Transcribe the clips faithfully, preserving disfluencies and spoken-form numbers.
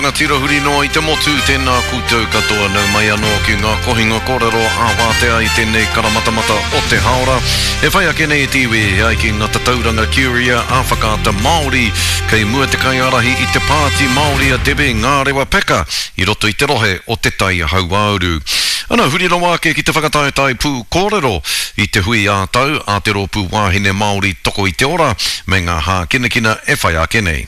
rangatira huri noa i te motu, tēnā koutou katoa nau mai anō ki ngā kohinga kōrero ā wātea i tēnei karamatamata o te haora. E whai ake nei te iwi e ai ki ngā tatauranga Curia a Whakaata Māori, kei mua te kaiārahi i te Pāti Māori a Debbie Ngārewa Peka i roto i te rohe o Te Tai Hauāuru. Ana, huri rawa ake ki te whakataetae pū kōrero i te hui ā-tau a te Rōpū Wāhine Māori Toko i te Ora me ngā hākinakina e whai ake nei.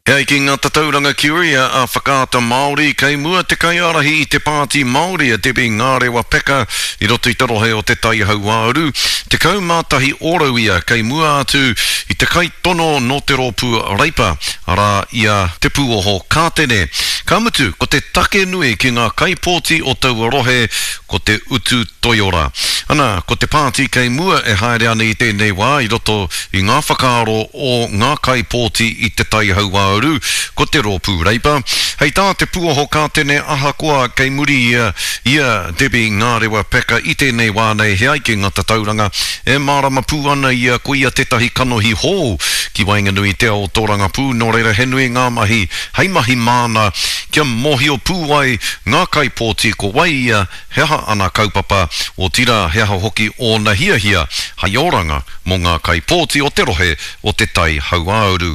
E ai ki ngā tatauranga Curia a Whakaata Māori, kei mua te kaiārahi i te Pāti Māori a Debbie Ngārewa Peka i roto i te rohe o Te Tai Hauāuru, tekau mā tahi ōrau ia kei mua atu i te kaitono nō te rōpū Reipa, arā i a Te Pūoho Kātene. Ka mutu, ko te take nui ki ngā kaipōti o taua rohe ko te utu toiora. Ana, ko te pāti kei mua e haere ana i tēnei wā i roto i ngā whakaaro o ngā kaipōti i Te Tai Hauāuru, ko te Rōpū Reipa. Hei tā Te Pūoho Kātene ahakoa kei muri ia i a Debbie Ngārewa Peka i tēnei wā nei he ai ki ngā tatauranga, e mārama pū ana ia ko ia tētahi kanohi hou ki waenganui i te ao tōrangapū, nō reira he nui ngā mahi hei mahi māna kia mōhio pū ai ngā kaipōti ko wai ia, he aha ana kaupapa, otirā he aha hoki ōna hiahia hei oranga mō ngā kaipōti o te rohe o Te Tai Hauāuru.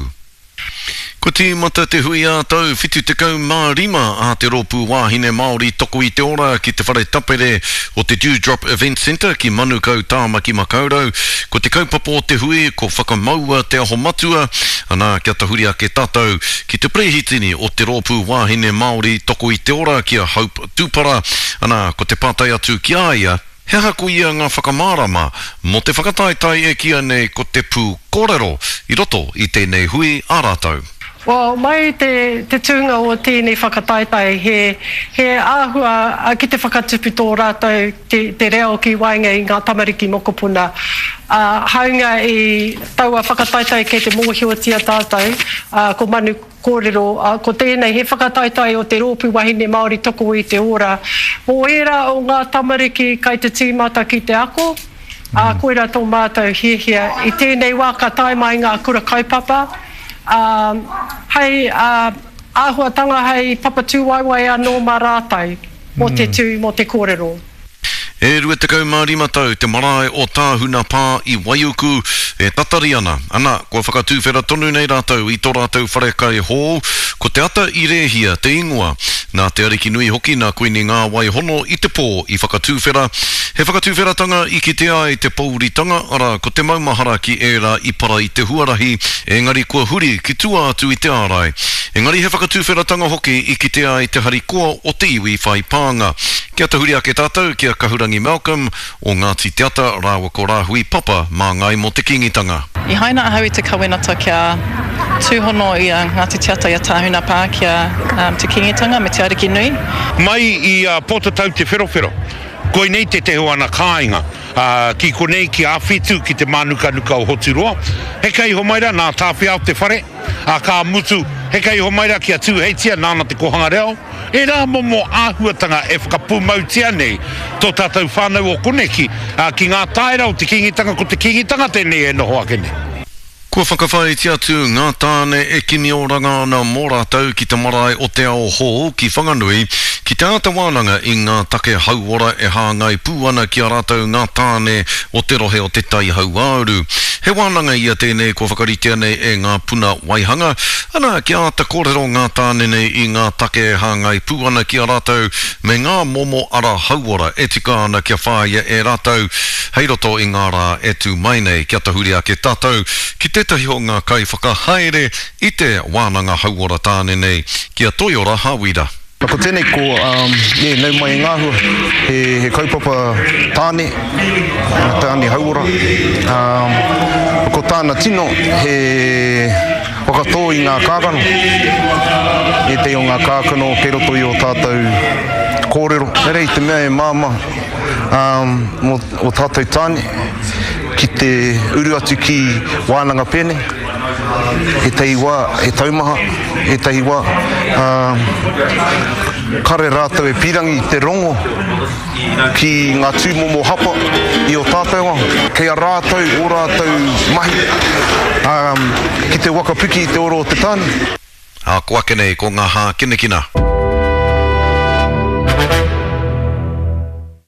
Kua tīmata te hui ā-tau whitu tekau mā rima a te Rōpū Wāhine Māori Toko i te Ora ki te whare tapere o te Dewdrop Event Centre ki Manukau, Tāmaki Makaurau. Ko te kaupapa o te hui ko Whakamaua Te Aho Matua, anā kia tahuri ake tātou ki te perehitini o te Rōpū Wāhine Māori Toko i te Ora ki a Hope Tupara, anā ko te pātai atu ki a ia, he aha koia ngā whakamārama mō te whakataetae e kīia nei ko te pū kōrero i roto i tēnei hui a rātou? Well, mai te, te tūnga o tēnei whakataetae, he, he āhua ki te whakatupu tō rātou te, te reo ki waenga i ngā tamariki mokopuna. Ā, hāunga i taua whakataetae kei te mōhiotia tātou, ā, ko Manu Kōrero, ā, ko tēnei he whakataetae o te Rōpū Wahine Māori Toko i te Ora. Mō ērā o ngā tamariki kai te tīmata ki te ako, ā, koirā tō mātou hiahia. I tēnei wā ka tae mai ngā kura kaupapa, ā, hei āhuatanga hei papatūwaewae anō mā rātou mō te tū, mō te kōrero. E rua tekau mā rima tau te marae o Tāhuna Pā i Waiuku e tatari ana, ana, kua whakatūwhera tonu nei rātou i tō rātou wharekai hou, ko Te Ata i Rēhia te ingoa. Nā Te Arikinui hoki nā Kuini Ngāwai Hono i te pō i whakatūwhera. He whakatūwheratanga i kitea ai te pouritanga, arā, ko te maumahara ki ērā i para i te huarahi, engari kua huri ki tua atu i te ārai. Engari he whakatūwheratanga hoki i kitea ai te harikoa o te iwi whai pānga. Kia tahuri ake tātou ki a Kahurangi Malcolm o Ngāti Te Ata rāua ko Rāhui Papa māngai mō te Kīngitanga. I haina ahau i te kawenata kia tūhono i a Ngāti Te Ata i a Tāhuna Pā ki a Te Kīngitanga me Te Arikinui. Mai i a Pōtatau Te Wherowhero, koinei tētehi o ana kāinga, ā, ki konei ki Āwhitu ki te mānukanuka o Hoturoa. Heke iho mai rā nā Tāwhiao te whare, ā, ka mutu, heke iho mai rā ki a Tūheitia nāna te kōhanga reo. Ērā momo āhuatanga e whakapūmautia nei tō tātou whānau o koneki, ā, ki ngā taera o te Kīngitanga, ko te Kīngitanga tēnei e noho ake nei. Kua whakawhāiti atu ngā tāne e kimi oranga ana mō rātou ki te marae o Te Ao Hou ki Whanganui ki te āta wānanga i ngā take hauora e hāngai pū ana ki a rātou ngā tāne o te rohe o Te Tai Hauāuru. He wānanga ia tēnei kua whakaritea nei e Ngā Puna Waihanga, ana, kia āta kōrero ngā tāne nei i ngā take e hāngai pū ana ki a rātou me ngā momo ara hauora e tika ana kia whāia e rātou hei roto i ngā rā e tū mai nei. Kia tahuri ake tātou ki tētahi o ngā kaiwhakahaere i te wānanga hauora tāne nei, ki a Toiora Hawira. Ko tēnei ko, yeah, nau mai e Ngāhua, he, he kaupapa tāne, tāne hauora. Um, ko tāna tino, he whakatō i ngā kākano, ētahi o ngā kākano kei roto i ō tātou kōrero. Engari i te mea e māmā um, mō ō tātou tāne ki te uru atu ki wānanga pēnei, Ētahi wā he taumaha, ētahi wā, ā, kare rātou e pīrangi te rongo ki ngā tūmomo hapa i ō tātou ao. Kei a rātou ō rātou mahi, ā, ki te te waka piki i te ora o te tāne. Ā, ko ake nei ko ngā hākinakina.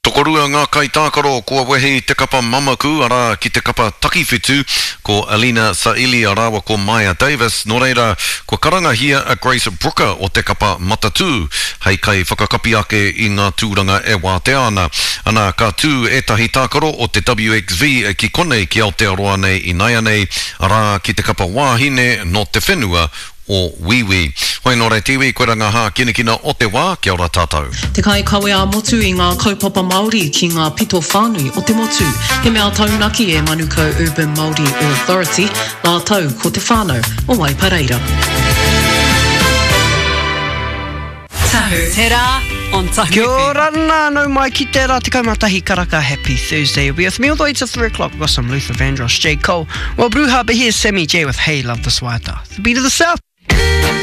Tokorua ngā kaitākaro kua wehe i te kapa mamaku, arā, ki te kapa takiwhitu, ko Alina Saili rāua ko Maia Davis, nō reira, kua karangahia a Grace Brooker o te kapa Matatū hei kaiwhakakapi ake i ngā tūranga e wātea ana. Ana, ka tū ētahi tākaro o te W X V ki konei ki Aotearoa nei inaianei, arā, ki te kapa wāhine nō te whenua o Wīwī. Hoi nō reira te iwi, koira ngā hākinakina o te wā, kia ora tātou. Te kaikawe ā-motu i ngā kaupapa Māori ki ngā pito whānui o te motu. He mea taunaki e Manukau Urban Māori Authority, rātou ko te whānau o Waipareira. Tahu. Te rā on Tahu Kia F M. ora nā, nau mai ki te rā tekau mā tahi karaka. Happy Thursday. You'll be with me all the way to three o'clock. We've got some Luther Vandross, J. Cole. Well, Bruja, but here's Sammy J with Hey Love This Waiata. The beat of the South.